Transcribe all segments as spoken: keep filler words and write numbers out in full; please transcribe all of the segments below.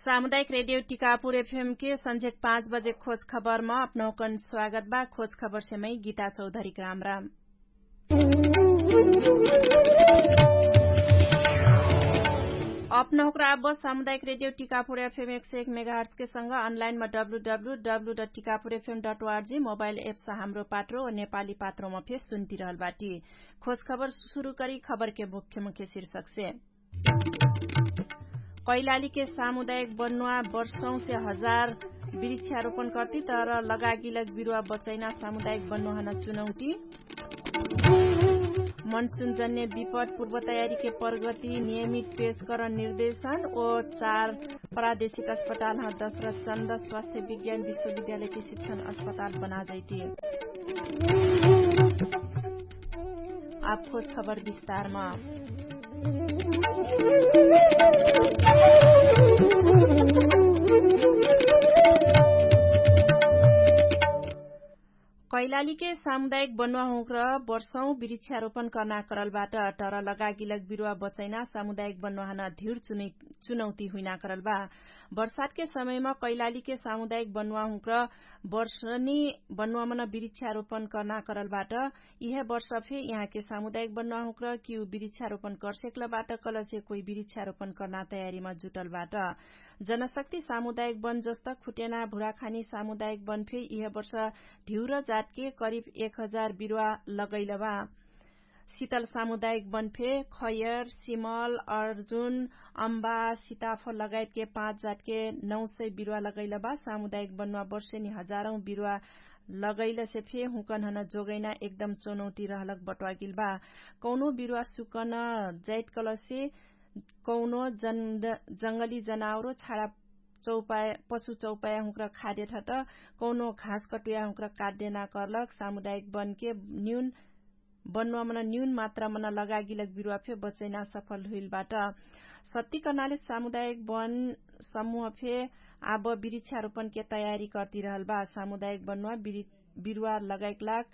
सामुदायिक रेडियो टिकापुर एफएम के संझेक पाँच बजे खोज खबरमा अपनहुँकन स्वागत बा। खोज खबरसे मै गीता चौधरी ग्रामराम। अपनहुँक्रा अब सामुदायिक रेडियो टिकापुर एफएम एक सय एक मेगाहर्चके संग अनलाइनमा W W W dot Tikapur FM dot ORG mobile apps Hamro Patro नेपाली पात्रोमा फेर सुन्तिरहल बाटी। खोज खबर सुरु करी खबरके मुख्य मुख्य शीर्षकसे। कैलालीके सामुदायिक बन्नुवा वर्षौंसे हजार बिरिक्षारोपण कर्ति तर लगागिलक बिरुवा बचैना सामुदायिक बन्नुवा हन चुनौटी। मनसुनजन्य विपद पूर्वतयारीके प्रगति नियमित पेशकरण निर्देशन ओ चार प्रादेशिक अस्पताल ह दशरथ चन्द स्वास्थ्य विज्ञान विश्वविद्यालयके शिक्षण अस्पताल बनाजैति। आब खोज खबर विस्तारमा। कैलालीके सामुदायिक बन्वाहुँक्र वर्षौं बिरिक्षारोपण कर्ना करलबाट तर लगागिलक बिरुवा बचैना सामुदायिक बन्वाहन धिर चुनौती हुइना करलबा। वर्षातके समयमा कैलालीके सामुदायिक बन्वाहुँक्र वर्षनी बन्वामन बिरिक्षारोपण कर्ना करलबाट इहे वर्ष फे यहाँके सामुदायिक बन्वाहुँक्र किउ बिरिक्षारोपण कर्सेक्लबाट कलसे कोइ बिरिक्षारोपण कर्ना तयारीमा जुटलबाट। जनशक्ति सामुदायिक बन जस्त खुटेना भुराखानी सामुदायिक बन फे इहे वर्ष ढिउर जातके करिब एक हजार बिरुवा लगैलबा। सितल सामुदायिक बन फे खयर सिमल अर्जुन अम्बा सिताफ लगायतके पाँच जातके नौ सय बिरुवा लगैलबा। सामुदायिक बन्वा वर्षेनी हजारौँ बिरुवा लगैलसे फे हुँकन हन जोगैना एकदम चुनौती रहलक बट्वागिलबा। कौनो बिरुवा सुकन जैतकलसे कौनो जङ्गली जनावरो छाडा चौपाया पशु चौपाया हुँक्र खाद्य ठट कौनो घास कटुया हुँक्र काट्य ना कर्लक सामुदायिक बनके न्यून बन्वामन न्यून मात्रामन लगागिलक बिरुवा फे बचैना सफल हुइलबाट। सत्ती कर्नाले सामुदायिक बन समुह फे आब बिरिक्षारोपणके तयारी कर्तिरहलबा। सामुदायिक बन्वा बिरुवा लगाइकलाक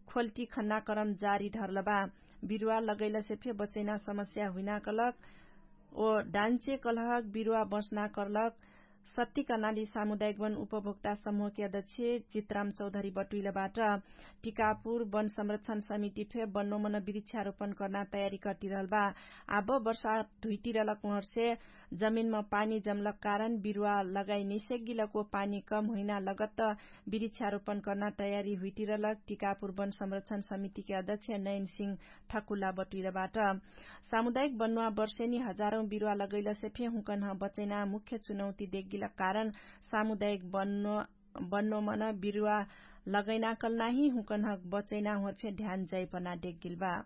खोल्टी खन्ना करम जारी ढर्लबा। बिरुवा लगैलसे फे बचैना समस्या हुइना कलक ओ डान्चे कलहक बिरुवा बस्ना कर्लक सत्ती कर्नाली सामुदायिक वन उपभोक्ता समुहके अध्यक्ष चित्राम चौधरी बटुइलबाट। टिकापुर वन संरक्षण समिति फे बन्नोमन बिरिक्षारोपण कर्ना तयारी कर्तिरहलबा। आब वर्षा धुइतिरलक उहर्षे जमिनमा पानी जमलक कारण बिरुवा लगाइ निसेगिलको पानी कम हुइना लगत्त बिरिक्षारोपण कर्ना तयारी हुइतिरलक टिकापुर वन संरक्षण समितिके अध्यक्ष नैनसिंह ठकुला बटुइलबाट। सामुदायिक बन्वा वर्षेनी हजारौँ बिरुवा लगैलसे फे हुँकन्ह बचैना मुख्य चुनौती देगिलक कारण सामुदायिक बन्नोमन बिरुवा लगैना कलनाही हुँकन्ह बचैना हुँर फे ध्यान जाइपना देगिलबा।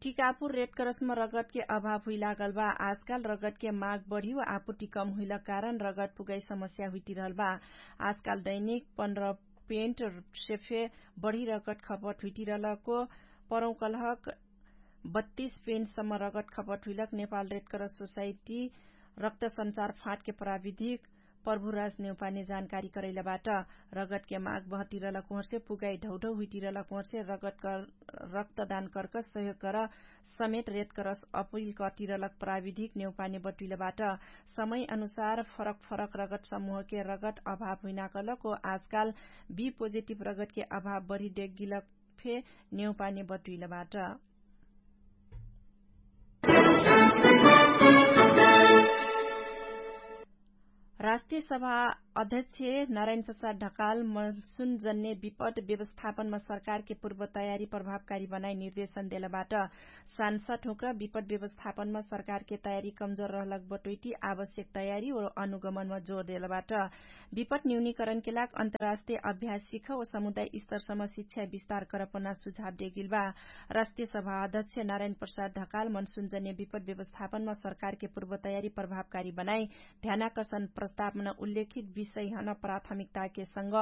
टिकापुर रेडक्रसमा रगतके अभाव हुइलागल बा। आजकाल रगतके माग बढी वा आपुटी कम हुइलक कारण रगत पुगाइ समस्या हुइटिरहल बा। आजकाल दैनिक पन्ध्र पेन्ट सेफे बढी रगत खपत हुइटिरहलको परौकलहक बत्तीस पेन्टसम्म रगत खपत हुइलक नेपाल रेडक्रस सोसाइटी रक्त सञ्चार फाँटके प्राविधिक प्रभुराज नेउपाने जानकारी करैलबाट। रगतके माग बहटिरलक उहर्षे पुगाइ ढौढौ हुइटिरलक उहर्षे रगत रक्तदान कर्क सहयोग कर समेत रेडक्रस अपिल कटिरलक प्राविधिक नेउपाने बटुइलबाट। समय अनुसार फरक फरक रगत समुहके रगत अभाव हुइनाकलक ओ आजकाल बी पोजिटिभ रगतके अभाव बढी देगिलक फे नेउपाने बटुइलबाट। राष्ट्रिय सभा अध्यक्ष नारायण प्रसाद ढकाल मनसुन जन्य विपद व्यवस्थापनमा सरकारके पूर्व तयारी प्रभावकारी बनाइ निर्देशन देलबाट। सान्सद हुँक्र विपद व्यवस्थापनमा सरकारके तयारी कमजोर रहलक बटोइटी आवश्यक तयारी ओ अनुगमनमा जोर देलबाट। विपद न्यूनीकरणके लाग अन्तर्राष्ट्रिय अभ्यास सिख ओ समुदाय स्तरसम्म शिक्षा विस्तार करपना सुझाव देगिलबा। राष्ट्रिय सभा अध्यक्ष नारायण प्रसाद ढकाल मनसुन जन्य विपद व्यवस्थापनमा सरकारके पूर्व तयारी प्रभावकारी बनाइ ध्यानाकर्षण प्रस्तावमा उल्लेखित सैहन प्राथमिकताके संग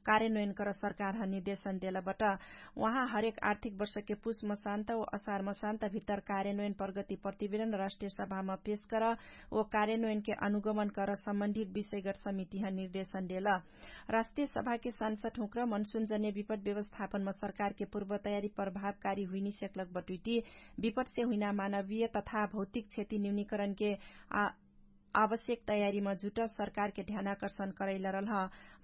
कार्यान्वयन कर सरकारह निर्देशन देलबट। उहाँ हरेक आर्थिक वर्षके पुस मसान्त व असार मसान्त भित्तर कार्यान्वयन प्रगति प्रतिवेदन राष्ट्रिय सभाम पेश कर व कार्यान्वयनके अनुगमन कर सम्बन्धित विषयगट समितिह निर्देशन देल। राष्ट्रिय सभाके सांसद हुँक्र मनसुन जन्य विपट व्यवस्थापनमा सरकारके पूर्व तयारी प्रभावकारी हुइनी सेक्लक बटुइटी विपटसे हुइना मानवीय तथा भौतिक क्षति न्यूनीकरणके आवश्यक तयारीमा जुट सरकारके ध्यानाकर्षण करैलरलह।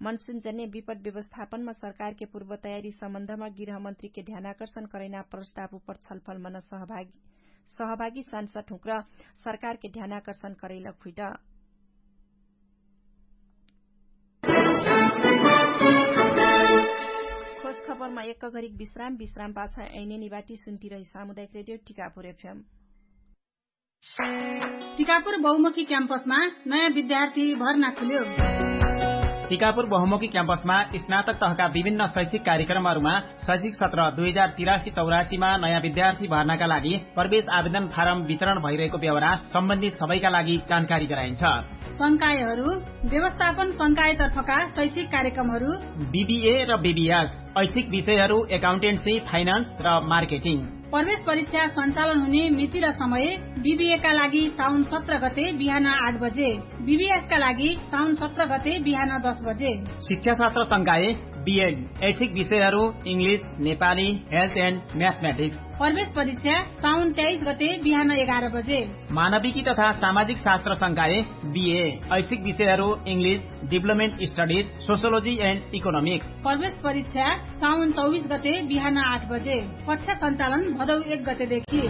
मनसुन जन्य विपट व्यवस्थापनमा सरकारके पूर्व तयारी सम्बन्धमा गृहमन्त्रीके ध्यानाकर्षण करैना प्रस्ताव उपर छलफलमा न सहभागी सहभागी सांसद हुँक्र सरकारके ध्यानाकर्षण करैलक हुइट। खोज खबरमा एक घरिक विश्राम विश्राम पाछ ऐने निवाटी सुन्ती रही सामुदायिक रेडियो टिकापुर एफएम। टिकापुर बहुमुखी क्याम्पसमा नयाँ विद्यार्थी भर्ना खुल्यो। टिकापुर बहुमुखी क्याम्पसमा स्नातक तहका विभिन्न शैक्षिक कार्यक्रमहरूमा शैक्षिक सत्र दुई हजार तिरासी चौरासीमा नयाँ विद्यार्थी भर्नाका लागि प्रवेश आवेदन फारम वितरण भइरहेको व्यवहार सम्बन्धित सबैका लागि जानकारी गराइन्छ। संकायहरू व्यवस्थापन संकायतर्फका शैक्षिक कार्यक्रमहरू बिबिए र बिबिएस, ऐच्छिक विषयहरू एकाउन्टेन्सी, फाइनान्स र मार्केटिङ। प्रवेश परीक्षा सञ्चालन हुने मिति र समय बिबिएका लागि साउन सत्र गते बिहान आठ बजे, बिबिएसका लागि साउन सत्र गते बिहान दस बजे। शिक्षाशास्त्र संकाय बिएड, ऐच्छिक विषयहरू इङ्ग्लिस, नेपाली, हेल्थ एन्ड म्याथमेटिक्स। प्रवेश परीक्षा साउन तेइस गते बिहान एघार बजे। मानविकी तथा सामाजिक शास्त्र संकाय बिए, ऐच्छिक विषयहरू English, development studies, sociology end economics. प्रवेश परीक्षा साउन चौबिस गते बिहान आठ बजे। कक्षा सञ्चालन भदौ एक गतेदेखि।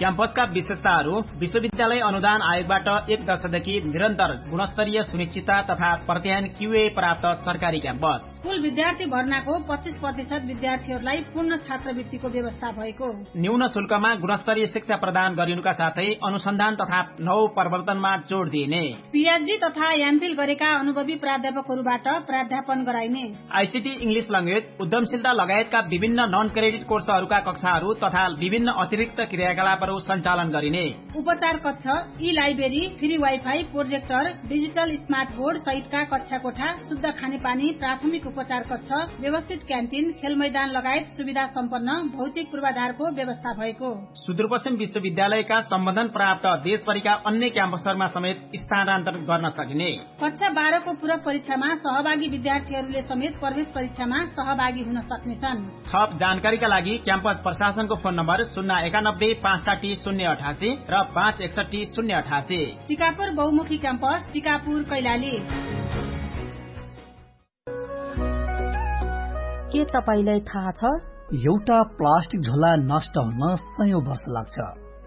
क्याम्पसका विशेषताहरू विश्वविद्यालय अनुदान आयोगबाट एक दशकदेखि निरन्तर गुणस्तरीय सुनिश्चितता तथा प्रत्यायन क्युए प्राप्त सरकारी क्याम्पस। कुल विद्यार्थी भर्नाको पच्चिस प्रतिशत विद्यार्थीहरूलाई पूर्ण छात्रवृत्तिको व्यवस्था भएको। न्यून शुल्कमा गुणस्तरीय शिक्षा प्रदान गरिनुका साथै अनुसन्धान तथा नौ प्रवर्तनमा जोड दिइने। पिएचडी तथा एमफिल गरेका अनुभवी प्राध्यापकहरूबाट प्राध्यापन गराइने। आइसिटी इङ्ग्लिस लङ्गेज उद्यमशीलता लगायतका विभिन्न नन क्रेडिट कोर्सहरूका कक्षाहरू तथा विभिन्न अतिरिक्त क्रियाकलापहरू सञ्चालन गरिने। उपचार कक्ष, ई library, free wifi, projector, digital smart board सहितका कक्षा कोठा, शुद्ध खानेपानी, प्राथमिक उपचार कक्ष, व्यवस्थित क्यान्टिन, खेलमैदान लगायत सुविधा सम्पन्न भौतिक पूर्वाधारको व्यवस्था भएको। सुदूरपश्चिम विश्वविद्यालयका सम्बन्धन प्राप्त देशभरिका अन्य क्याम्पसहरूमा समेत स्थानान्तरण गर्न सकिने। कक्षा बाह्रको पूरक परीक्षामा सहभागी विद्यार्थीहरूले समेत प्रवेश परीक्षामा सहभागी हुन सक्नेछन्। थप जानकारीका लागि क्याम्पस प्रशासनको फोन नम्बर शून्य एकानब्बे पाँच साठी शून्य अठासी र पाँच एकसठी शून्य अठासी। टिकापुर बहुमुखी क्याम्पस, टिकापुर कैलाली। के तपाईंलाई थाहा छ? एउटा प्लास्टिक झोला नष्ट हुन सयौं वर्ष लाग्छ।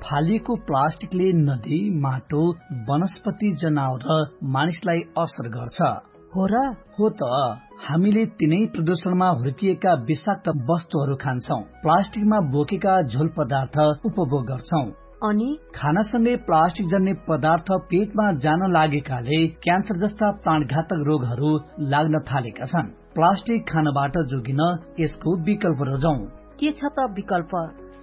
फालिएको प्लास्टिकले नदी, माटो, वनस्पति, जनावर र मानिसलाई असर गर्छ। हो र? हो त। हामीले तिनै प्रदूषणमा हुर्किएका विषाक्त वस्तुहरू खान्छौं, प्लास्टिकमा बोकेका झोल पदार्थ उपभोग गर्छौं। अनि खानासँगै प्लास्टिक जन्ने पदार्थ पेटमा जान लागेकाले क्यान्सर जस्ता प्राणघातक रोगहरू लाग्न थालेका छन्। प्लास्टिक खानबाट जोगिन यसको विकल्प रोजौं। के छ त विकल्प?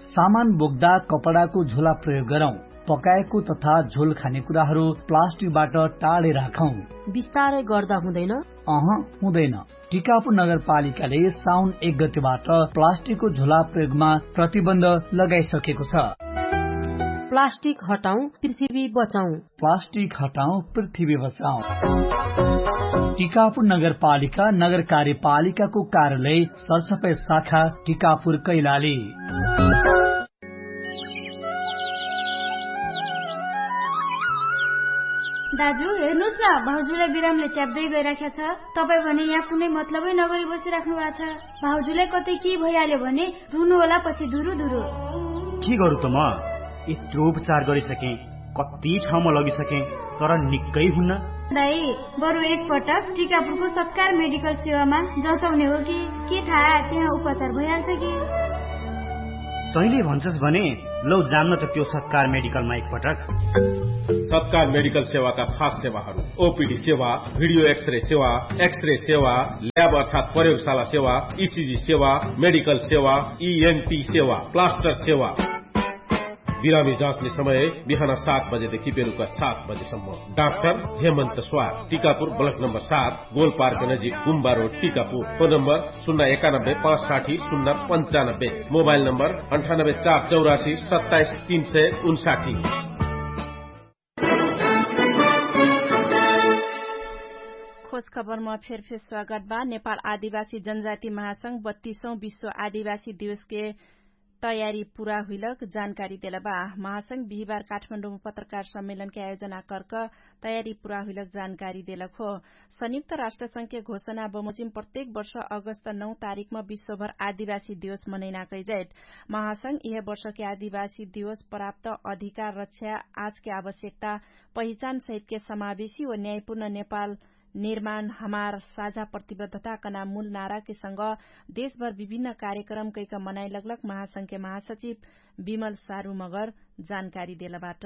सामान बोक्दा कपडाको झोला प्रयोग गरौं। पकाएको तथा झोल खाने कुराहरू प्लास्टिकबाट टाढे राखौं। बिस्तारै गर्दा हुँदैन? अह, हुँदैन। टिकापुर नगरपालिकाले साउन एक गतिबाट प्लास्टिकको झोला प्रयोगमा प्रतिबन्ध लगाइसकेको छ। प्लास्टिक हटाउँ, पृथ्वी बचाउँ। प्लास्टिक हटाउँ, पृथ्वी बचाउँ। टिकापुर नगरपालिका, नगर कार्यपालिकाको कार्यालय, सरसफाइ शाखा, टिकापुर कैलाली। दाजु, हेर्नुस् न, भाउजूलाई बिरामले च्याप्दै गइराख्या छ। तपाईँ भने यहाँ कुनै मतलबै नगरी बसिराख्नु भएको छ। भाउजूलाई कतै के भइहाल्यो भने रुनु होला पछि धुरु धुरु। के गरु त म? यत्रो उपचार गरिसकेँ, कति ठाउँमा लगिसकेँ, तर निक्कै हुन्न। दाइ, बरु एकपटक टिकापुरको सत्कार मेडिकल सेवामा जचाउने हो कि, के थाहा, त्यहाँ उपचार भइहाल्छ कि। तैँले भन्छस् भने लौ, जान्न त त्यो सत्कार मेडिकलमा एकपटक। सत्कार मेडिकल सेवाका खास सेवाहरू: ओपिडी सेवा, भिडियो एक्सरे सेवा, एक्सरे सेवा, ल्याब अर्थात् प्रयोगशाला सेवा, इसिजी सेवा, मेडिकल सेवा, इएनटी सेवा, प्लास्टर सेवा। बिरामी जाँच्ने समय बिहान सात बजेदेखि बेलुका सात बजेसम्म। डाक्टर हेमन्त स्वार, टिकापुर, ब्लक नम्बर सात, गोलपार्क नजिक गुम्बा रोड, टिकापुर। फोन नम्बर शून्य एकानब्बे पाँच साठी शून्य पन्चानब्बे। मोबाइल नम्बर अन्ठानब्बे चार चौरासी सत्ताइस तीन सय उन्साठी। खोज खबरमा फेरफेर स्वागत बा। नेपाल आदिवासी जनजाति महासंघ बत्तीसौँ विश्व आदिवासी दिवसके तयारी पुरा हुइलक जानकारी देलबा। महासंघ बिहिबार काठमाडौँमा पत्रकार सम्मेलनके आयोजना कर्क तयारी पुरा हुइलक जानकारी देलक हो। संयुक्त राष्ट्रसंघके घोषणा बमोजिम प्रत्येक वर्ष अगस्त नौ तारिकमा विश्वभर आदिवासी दिवस मनैना कैजैत। महासंघ यह वर्षके आदिवासी दिवस प्राप्त अधिकार रक्षा आजके आवश्यकता पहिचान सहितके समावेशी व न्यायपूर्ण नेपाल निर्माण हमार साझा प्रतिबद्धता कना मूल नाराके संग देशभर विभिन्न कार्यक्रम कैक मनाइ लगलक महासंघके महासचिव विमल सारु मगर जानकारी देलबाट।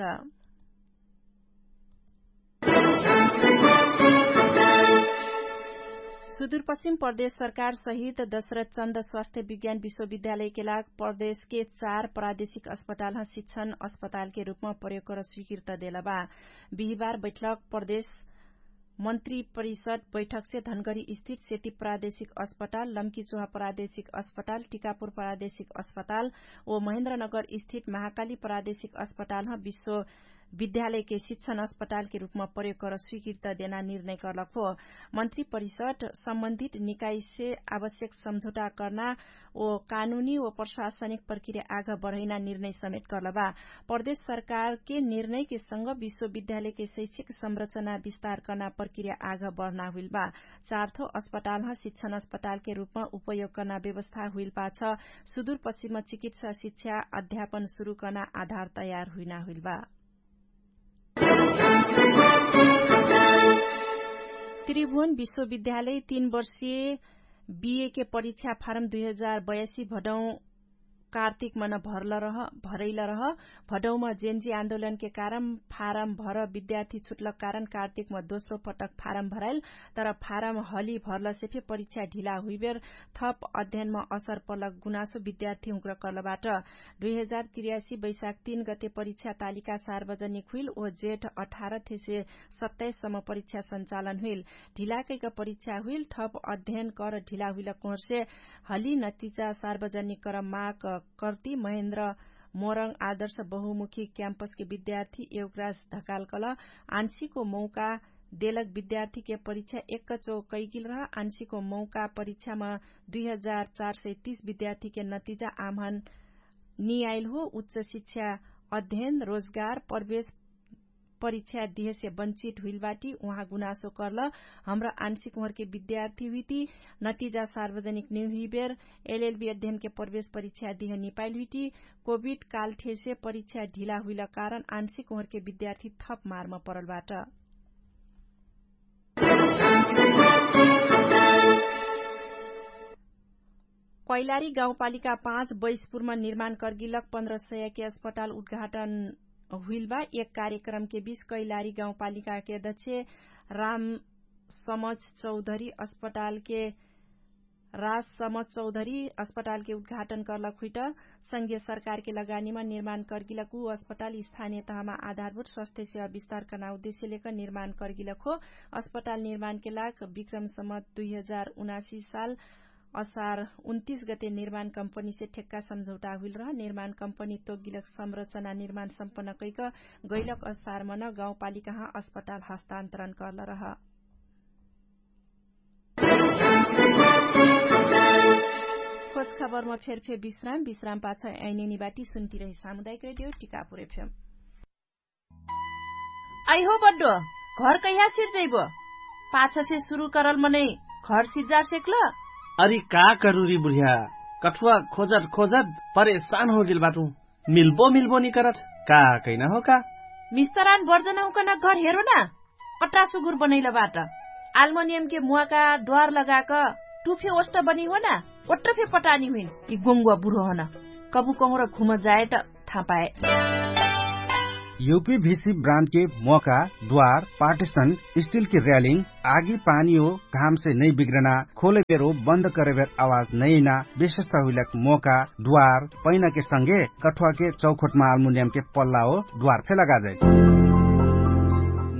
सुदूरपश्चिम प्रदेश सरकार सहित दशरथ चन्द स्वास्थ्य विज्ञान विश्वविद्यालयके लाग प्रदेशके चार प्रादेशिक अस्पतालह शिक्षण अस्पतालके रूपमा प्रयोग कर स्वीकृत देलबा। बिहिबार बैठलक प्रदेश मन्त्री परिषद बैठकसे धनगरी स्थित सेती प्रादेशिक अस्पताल, लम्कीचोहा प्रादेशिक अस्पताल, टिकापुर प्रादेशिक अस्पताल ओ महेन्द्रनगर स्थित महाकाली प्रादेशिक अस्पतालह विश्वविद्यालयके शिक्षण अस्पतालके रूपमा प्रयोग कर स्वीकृत देना निर्णय कर्लक हो। मन्त्री परिषद सम्बन्धित निकाइसे आवश्यक सम्झौटा कर्ना ओ कानुनी ओ प्रशासनिक प्रक्रिया आघ बढैना निर्णय समेत कर्लबा। प्रदेश सरकारके निर्णयके संग विश्वविद्यालयके शैक्षिक संरचना विस्तार कर्ना प्रक्रिया आघ बढ्ना हुइलबा। चारथो अस्पतालह शिक्षण अस्पतालके रूपमा उपयोग कर्ना व्यवस्था हुइलपाछ सुदूरपश्चिम चिकित्सा शिक्षा अध्यापन सुरु कर्ना आधार तयार हुइना हुइलबा। त्रिभुवन विश्वविद्यालय तीन वर्षीय बिएके परीक्षा फारम दुई हजार बयासी भडौँ कार्तिकमा न भरैल रह। भडौँमा जेन्जी आन्दोलनके कारण फारम भर विद्यार्थी छुटलक कारण कार्तिकमा दोस्रो पटक फारम भराइल। तर फारम हली भरलसे फे परीक्षा ढिला हुइबेर थप अध्ययनमा असर पलक गुनासो विद्यार्थी हुँक्र कर्लबाट। दुई हजार त्रियासी वैशाख तीन गते परीक्षा तालिका सार्वजनिक हुइल ओ जेठ अठार थेसे सत्ताइस सम्म परीक्षा सञ्चालन हुइल। ढिलाकैक परीक्षा हुइल थप अध्ययन कर ढिला हुइल कोहरसे हली नतिजा सार्वजनिक कर माग कर्ति महेन्द्र मोरङ आदर्श बहुमुखी क्याम्पसके विद्यार्थी एवग्रास धकालकल आन्सिको मौका देलक विद्यार्थीके परीक्षा एक्कचो कैगिल रह। आन्सिको मौका परीक्षामा दुई हजार चार सय तीस विद्यार्थीके नतिजा आम्हन नियाइल हो। उच्च शिक्षा अध्ययन रोजगार प्रवेश परीक्षा दिहेसे वञ्चित हुइलबाटी उहाँ गुनासो कर्ल। हमरा आन्सिक उहरके विद्यार्थी हुइती नतिजा सार्वजनिक निहुइबेर एलएलबी अध्ययनके प्रवेश परीक्षा दिह निपाइल हुइटी कोभिड कालठेसे परीक्षा ढिला हुइल कारण आन्सिक उहरके विद्यार्थी थप मारमा परलबाट। कैलारी गाउँपालिका पाँच बैसपुरमा निर्माण कर्गिलक पन्ध्र सयके अस्पताल उद्घाटन हुइलबा। एक कार्यक्रमके बीच कैलारी गाउँपालिकाके अध्यक्ष राम समझ चौधरी अस्पतालके राज समझ चौधरी अस्पतालके उद्घाटन कर्लक हुइट संघीय सरकारके लगानीमा निर्माण कर्गिलक उ अस्पताल स्थानीय तहमा आधारभूत स्वास्थ्य सेवा विस्तार कर्ना उद्देश्य लेकर निर्माण कर्गिलक हो। अस्पताल निर्माणके लाग विक्रम सम्म दुई हजार उनासी साल असार उन्तिस गते निर्माण कम्पनीसे ठेक्का सम्झौटा हुइल रह। निर्माण कम्पनी तोगिलक संरचना निर्माण सम्पन्न कैक गैलक असार मन गाउँपालिकाहाँ अस्पताल हस्तान्तरण कर्ल रह। खोज खबरमा फेरफेर विश्राम विश्राम पाछ ऐनेनी बाटी सुन्ती रही सामुदायिक रेडियो टिकापुर एफएम। आइहो बड्डो, घर कैहा सिर्जैबो? पाछसे सुरु करल मनै घर सिर्जा सेक्ल? अरि का करुरी बुढिया, कठुवा खोजत खोजत परेशान होगेल बाटु। मिल्बो मिल्बो निकरत, का कैना हो का? मिस्तरान बर्जन हुकन घर हेरो ना। अट्रा सुगुर बनैल बाट। आल्मनियमके मुवाका ड्वार लगाक टुफे ओष्ट बनी हो ना। ओट्र फे पटानी हुइन कि गोङ्गुवा बुढो हन। कबु कहुँर घुम जाएट थापाए। युपी भिसी ब्रान्डके मोका, द्वार, पार्टिसन, स्टिलके र्यालिङ, आगी पानी हो घामसे नै बिग्रना, खोले बेरो बन्द करे बेर आवाज नैना, विशेषता हुइलक मोका, द्वार, पैनाके संगे कठुवाके चौखोटमा आल्मुनियमके पल्ला हो द्वार फे लगाजै।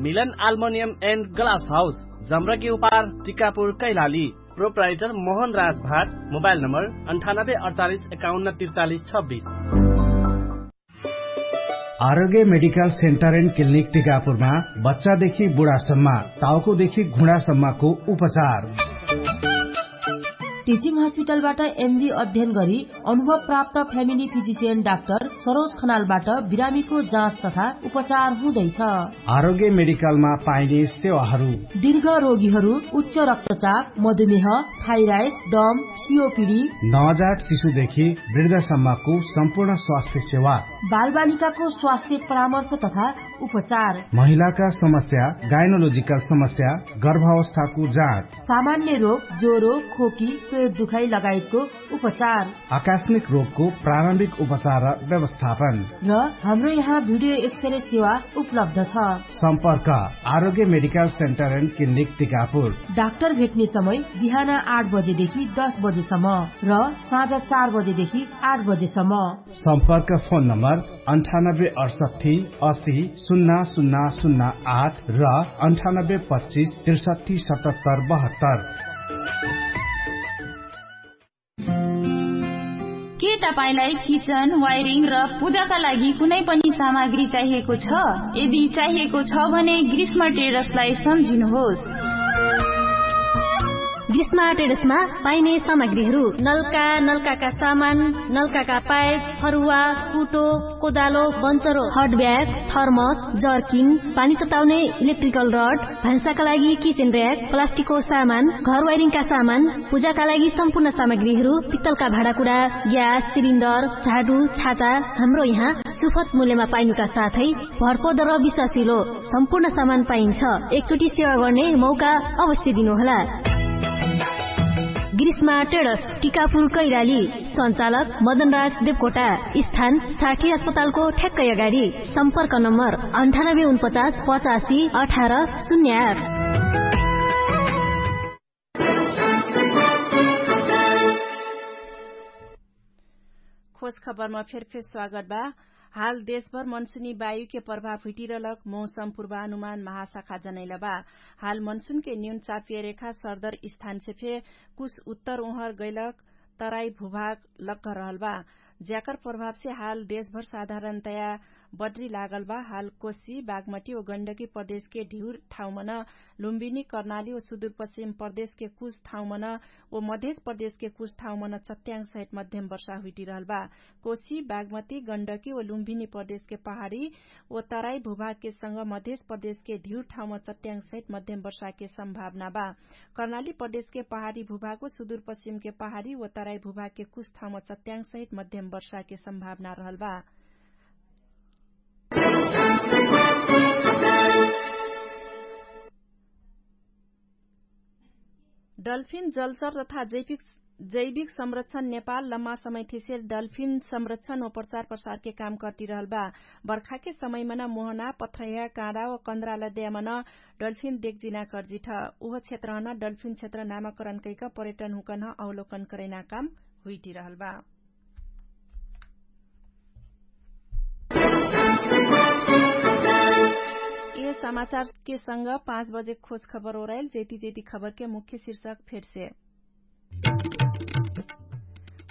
मिलन आल्मुनियम एन्ड ग्लास हाउस, जम्रकी उपार, टिकापुर, कैलाली। प्रोप्राइटर मोहन राज भाट। मोबाइल नम्बर अन्ठानब्बे अडचालिस एकाउन्न त्रिचालिस छब्बिस। आरोग्य मेडिकल सेन्टर एन्ड क्लिनिक टिकापुरमा बच्चादेखि बुढासम्म, ताउकोदेखि घुँडासम्मको उपचार। टिचिङ हस्पिटलबाट एमबी अध्ययन गरी अनुभव प्राप्त फ्यामिली फिजिसियन डाक्टर सरोज खनालबाट बिरामीको जाँच तथा उपचार हुँदैछ। आरोग्य मेडिकलमा पाइने सेवाहरू। दीर्घ रोगीहरू, उच्च रक्तचाप, मधुमेह, थाइराइड, दम, सिओपिडी। नवजात शिशुदेखि वृद्धसम्मको सम्पूर्ण स्वास्थ्य सेवा। बालबालिकाको स्वास्थ्य परामर्श तथा उपचार। महिलाका समस्या, गाइनोलोजिकल समस्या, गर्भावस्थाको जाँच। सामान्य रोग, ज्वरो, खोकी, पेट दुखाइ लगायतको उपचार। आकस्मिक रोगको प्रारम्भिक उपचार र व्यवस्थापन। र हाम्रो यहाँ भिडियो एक्सरे सेवा उपलब्ध छ। सम्पर्क Arogya medical centre and clinic Tikapur. Doctor भेट्ने समय बिहान आठ बजेदेखि दस बजेसम्म र साँझ चार बजेदेखि आठ बजेसम्म। सम्पर्क फोन नम्बर अन्ठानब्बे अडसट्ठी असी सुन्ना सुन्ना सुन्ना आठ र अन्ठानब्बे पच्चिस त्रिसट्ठी सतहत्तर बहत्तर। के तपाईंलाई किचन, वायरिङ र पूजाका लागि कुनै पनि सामग्री चाहिएको छ? यदि चाहिएको छ भने ग्रीष्म ट्रेडर्सलाई सम्झिनुहोस्। ग्रीष्म ट्रेडर्समा पाइने सामग्रीहरू नलका, नलकाका सामान, नलकाका पाइप, फरुवा, कुटो, कोदालो, बन्चरो, हटब्याग, थर्मस, जर्किन, पानी तताउने इलेक्ट्रिकल रड, भान्साका लागि किचन र्‍याक, प्लास्टिकको सामान, घर वायरिङका सामान, पूजाका लागि सम्पूर्ण सामग्रीहरू, पित्तलका भाँडाकुँडा, ग्यास सिलिन्डर, झाडु, छाता, हाम्रो यहाँ सुपथ मूल्यमा पाइनुका साथै भरपर्दो र विश्वासिलो सम्पूर्ण सामान पाइन्छ। एकचोटि सेवा गर्ने मौका अवश्य दिनुहोला। ग्रीष्मा ट्रेडर्स, टिकापुर कैलाली। सञ्चालक मदनराज देवकोटा। स्थान साठी अस्पतालको ठ्याक्कै अगाडि। सम्पर्क नम्बर अन्ठानब्बे उनपचास पचासी अठार शून्य आठ। खोज खबरमा फेरफेर स्वागत बा। हाल देशभर मनसुनी वायुके प्रभाव हुइटिरलक मौसम पूर्वानुमान महाशाखा जनैलबा। हाल मनसुनके न्यून चापिय रेखा सरदर स्थानसे फे कुछ उत्तर उहर गैलक तराई भूभाग लक्क रहलबा। ज्याकर प्रभावसे हाल देशभर साधारणतया बढ्री लागलबा। हाल कोशी बागमटी व गण्डकी प्रदेशके ढिउर ठाउँमन लुम्बिनी कर्णाली व सुदूरपश्चिम प्रदेशके कुछ ठाउँमन व मधेश प्रदेशके कुछ ठाउँमन चट्याङसहित मध्यम वर्षा हुइटिरहलबा। कोशी बागमती गण्डकी व लुम्बिनी प्रदेशके पहाडी व तराई भूभागके संग मधेश प्रदेशके ढिउर ठाउँमा चट्याङसहित मध्यम वर्षाके सम्भावना बा। कर्णाली प्रदेशके पहाडी भूभाग व सुदूरपश्चिमके पहाडी व तराई भूभागके कुछ ठाउँमा चट्याङसहित मध्यम वर्षाके सम्भावना रहलबा। डल्फिन जलचर तथा जैविक संरक्षण नेपाल लम्मा समयथिसेर डल्फिन संरक्षण व प्रचार प्रसारके काम कर्तिरहलबा। बर्खाके समयमन मोहना पथ्रह्या काँडा व कन्द्रालद्यामन डल्फिन देखजिना कर्जिठ। उह क्षेत्रहन डल्फिन क्षेत्र नामाकरण कैक पर्यटन हुकन्ह अवलोकन करैना काम हुइटिरहलबा। यह समाचारके संग पाँच बजे खोज खबर ओराइल। जेति जेति खबरके मुख्य शिर्षक फेरसे।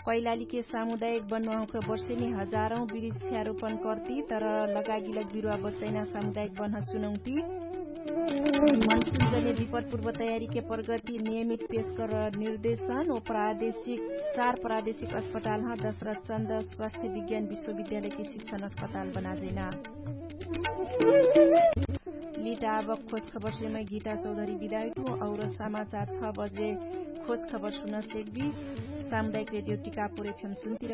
कैलालीके सामुदायिक बन्वाहुँक्र वर्षेनी हजारौँ बिरिच्छ्यारोपण कर्ति तर लगागिलक बिरुवा बच्चैना सामुदायिक बन्ह चुनौती। मनसुन जने विपटपूर्व तयारीके प्रगति नियमित पेशकर निर्देशन व प्रादेशिक चार प्रादेशिक अस्पतालह दशरथ चन्द स्वास्थ्य विज्ञान विश्वविद्यालयके शिक्षण अस्पताल बनाजैना। लिटाबक खोज खबर सेमय गीता चौधरी बिदाइटु और समाचार छ बजे खोज खबर सुन सेक्बी। सामुदायिक रेडियो टिकापुर एफएम सुन्तिर।